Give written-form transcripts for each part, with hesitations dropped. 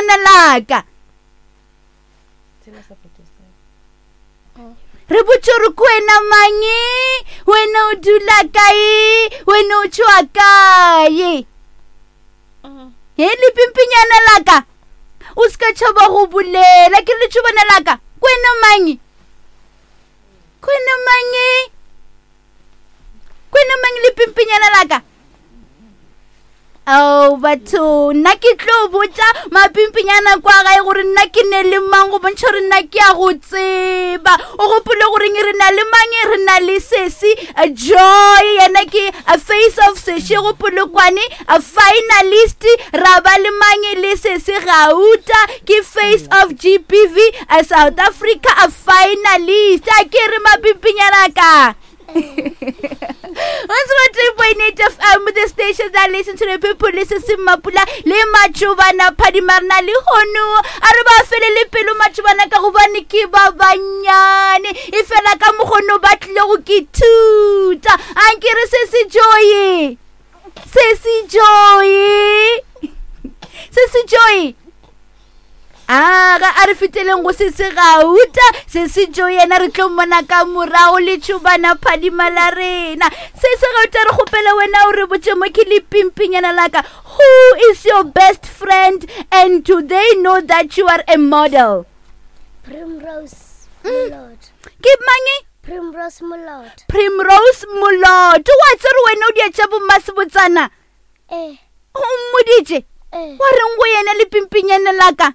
lepimpinyana laka. Re botše gore ke wena mang, wena o dula kae, wena o tšwa kae. He lepimpinyana laka, o se ka tšhaba go bolela. Ke re letšhobana laka, ke wena mang? Ke wena mang? Ke wena mang lepimpinyana laka? Ao batho, nna ke tlo botša mapimpinyana kwa gae gore nna ke ne le mang go bontšha gore nna ke a go tseba. O gopole goreng re na le mang? Re na le sesi Joy, yena ke face of Seshego Polokwane, finalist. Ra ba le mang? Le sesi Gauta, ke face of GBV South Africa, finalist. A ke re mapimpinyana ka. 103.8 FM, the station that listen to the people, listen to Mapula, le Matšobana, Phadimarna, le Hono. A re ba fele le pelo Matšobana ka gobane ke ba banyane. E fela ka mogono ba tlile go ke thuta. A nke re se se joye. Se se joye. Se se joye. Aga a re feteleng go se se gauta se se jo yena re tlo mmona ka morago le tšhobana phadima la rena se se gauta re kgopela wena o re botše mo ke le pimpinyana laka who is your best friend and do they know that you are a model? Primrose Molot. Ke mang? Primrose Molot. Primrose Molot. Wa tsere wena o dietša bommasebotsana? Eh. O mmoditše? Eh. Wa reng go yena le pimpinyana la ka?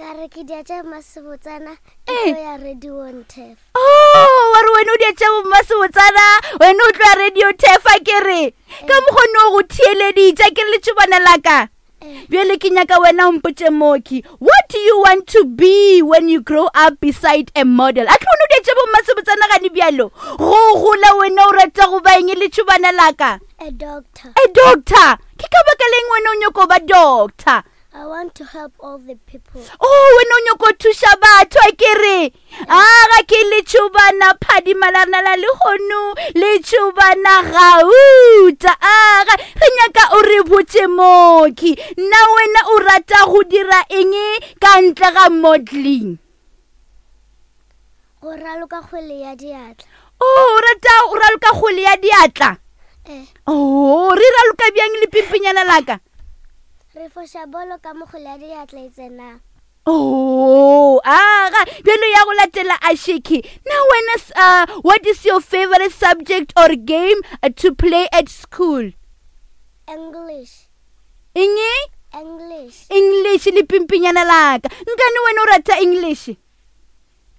Ka re ke dia tša mmasebotsana, ke Eh. tlo ya radio Ntef. Oh, wa re wena o dia tša bommasebotsana, wena o tlo ya radio Tefa ke re. Ka mokgwa no go theeleditše ke re letšobana la ka. Eh. Bjale ke nyaka wena o mpotše Moki, what do you want to be when you grow up beside a model? A tlo o dia tša bommasebotsana gane bjalo? Go gola wena o rata go ba eng letšobana la ka? A doctor. A doctor? Ke ka baka leng wena o nyoko ba doctor? I want to help all the people. Oh, wena o nyoko thuša batho a ke re. A ga ke letšobana phadima la rena la lehono, letšobana gauta. A ga re nyaka o re botše Moki, na wena o rata go dira eng ka ntle ga modeling? Go raloka kgwele ya diatla. Oh, o rata go raloka kgwele ya diatla? Eh. Oh, re raloka bjang lepimpinyana la ka? Re foša bolo ka mo kgwele ya diatla e tsenang. Oh, aga, bjalo ya go latela Ashiki. Na wena, what is your favorite subject or game to play at school? English. Eng? English. English lepimpinyana la ka. Nkane wena o rata English?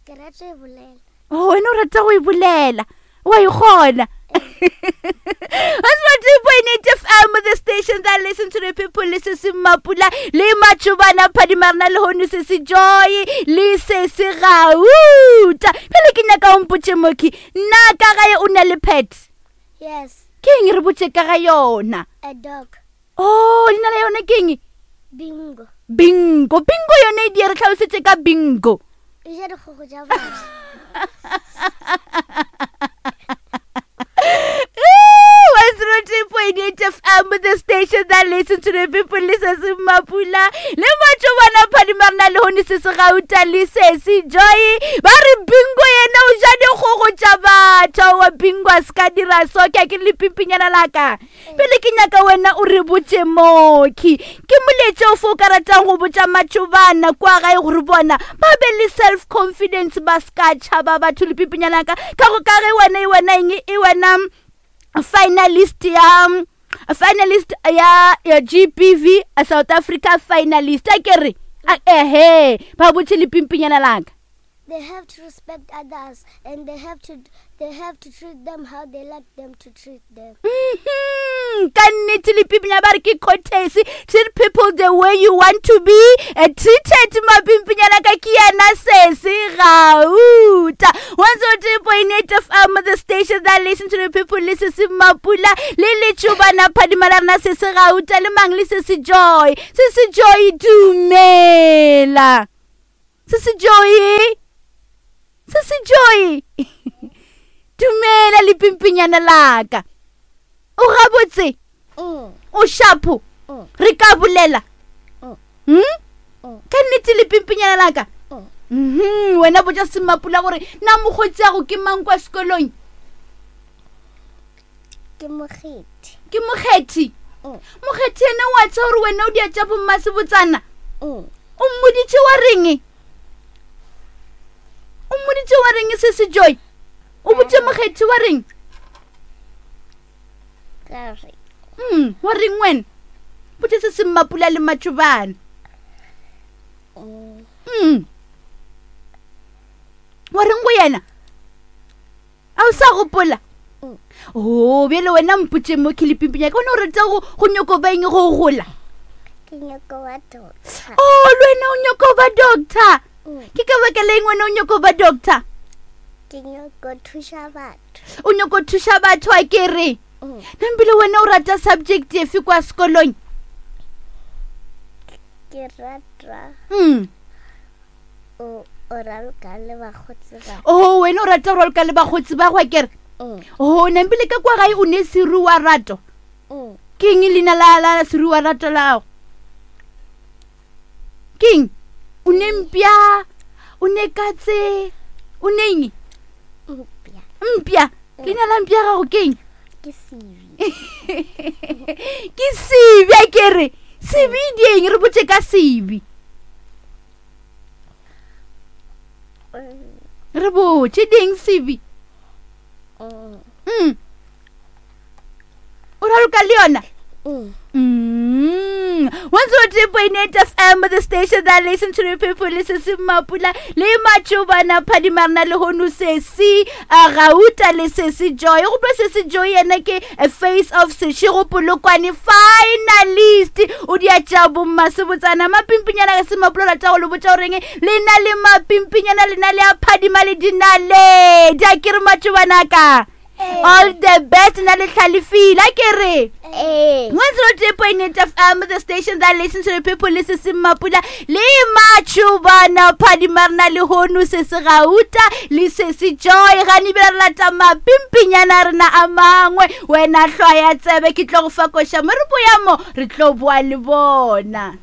Ke rata e bolela. Oh, wena o rata go e bolela. Wa e kgona. 102.8 FM, the station that listen to the people, le se se Mapula, le Matšobana, Phadima rena le hono se se Joy, le se se Gauta. Pele ke nyaka o mpotše Moki, na ka gae o na le pet? Yes. Ke eng re botše ka ga yona? A dog. Oh, leina la yona ke eng? Bingo. Bingo. Bingo yone e di re tlhalosetše ka bingo. E ja dikgogo tša batho. 102.8 FM, the station that listen to the people, le se se Mapula, le Matšobana Phadima rena le hone se se Gauta le se se Joy. Ba re bingo yena o ja dikgogo tša batho. Wa bingo a se ka dira so, ke a ke le pimpinyana la ka. Pele ke nyaka wena o re botše Moki, ke moletše ofe o ka ratang go botša matšobana kwa gae gore bona ba be le self confidence, ba se ka tšhaba batho le pipinyana ka ka go ka ge wena e wena eng e wena finalist ya finalist ya, ya GBV South Africa finalist a ke re ehe ba botše le pimpinyana laka. They have to respect others and they have to treat them how they like them to treat them. Ka nnete le pimpinya ba re ke courtesy, treat people the way you want to be treated. Mapimpinyana ka ke yena sese gauta. 102.8 FM, the station that listen to the people, le sese Mapula, le letšobana phadima la rena sese gauta, le mang le sese Joy. Sese Joy, dumela. Se se Joy. Se se Joy. Dumela le pimpinyana la ka. O gabotse? O shapo? Re ka bolela? Hmm? Ka nnete le pimpinyana laka? Mhm, wena botša Semmapula gore na mokgotsi ago ke mang kwa sekolong? Ke mokgethi. Ke mokgethi? Mm. Mokgethi ene wa tseba gore wena o dia tša bommasebotsana? Mm. O mmoditše wa reng? O mmoditše wa reng se se Joy? O botše mokgethi wa reng? Ka re. Mm, wa reng wena? Botše se se Mmapula le Matšobana. Mm. Mm. Wa reng go yena? A o sa gopola? Mm. Oh, bjale wena mpotše mo ke lepimpinya ka bona o rata go go nyoko ba eng go gola? Ke nyoko ba doctor. Oh, le wena o nyoko ba doctor. Mm. Ke ka baka la eng wena o nyoko ba doctor? Ke nyoko thuša batho. O nyoko thuša batho a ke re? Mm. Nambile wena o rata subject efe kwa sekolong? Ke rata Mm. o o raloka le bakgotsi ba. Oh, wena o rata go raloka le bakgotsi ba go a ke re? Mm. Oh, nambile ka kwa gae o ne seruwa rato. Mm. Ke eng leina la la seruwa rato la gago? Ke eng? O ne mpša, o ne katse, o ne eng? Mpša. Mpša. Leina la mpša gago ke eng? Ke Sebi. Ke Sebi a ke re. Sebi di eng? Re botše ka Sebi. Re botše di eng Sebi? Mm. Mm. O raloka le yona? Mm. Mm. 103.8 FM, the station that listen to the people, listen to Mapula, le Matšobana, Phadimarna, le hono sesi, a Gauta le sesi Joy. Go bua sesi Joy yena ke a face of Seshego Polokwane finalist. O dia tša bommasebotsana mapimpinyana ka se Mapula rata go le botša goreng le na le mapimpinyana le na le a phadima le dinaledi. A ke re Matšobana ka. All the best na le hlalefile a ke re. Ee. 103.8 FM, the station that listens to the people, le se se Mapula, le Matšobana, Phadimarna, le hono se se Gauta, le se se Joy, gane ebile re lata mapimpinyana a rena a mangwe. Wena hlwaya tsebe, ke tlo go fa koša mo re boya mo, re tlo boa le bona.